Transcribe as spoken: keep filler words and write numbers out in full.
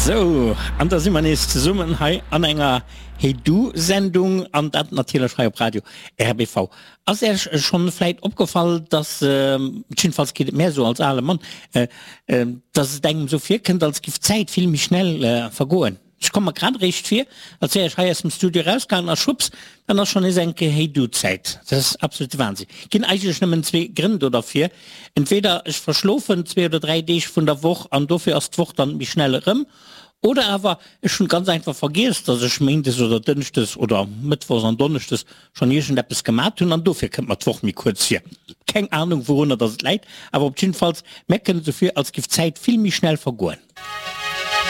Sou, an da si mer nees zesummen hei an enger Hey Du Sendung, an dat natierlech hei op Radio R B V. Ass Iech schonn vläit opgefall, dass, jiddefalls geet et mär esou als ale Mann, dass et engem esou virkënnt, als giff d'Zäit vill méi schnell vergoen? Ech komme mer grad eréischt vir, als wär ech hei aus dem Studio erausgaangen a schwupps, dann ass schonn nees eng Kéier Hey Du Zäit. Dat ass absolute Wahnsinn. Ginn eigentlech nëmmen zwee Grënn do derfir, Entweder ech verschlofen zwee oder dräi Deeg vun der Woch an dofir ass d'Woch dann méi schnell erëm, oder awer ech hunn ganz einfach vergiess, dass ech méindes oder dënschdes oder mëttwochs an donneschdes schonn iergendeppes gemat hunn an dofir kënnt mer d'Woch méi kuerz vir. Keng Ahnung, wourunner dass et läit, awer op jiddefalls, mär kënnt et esou vir, als giff d'Zäit vill méi schnell vergoen.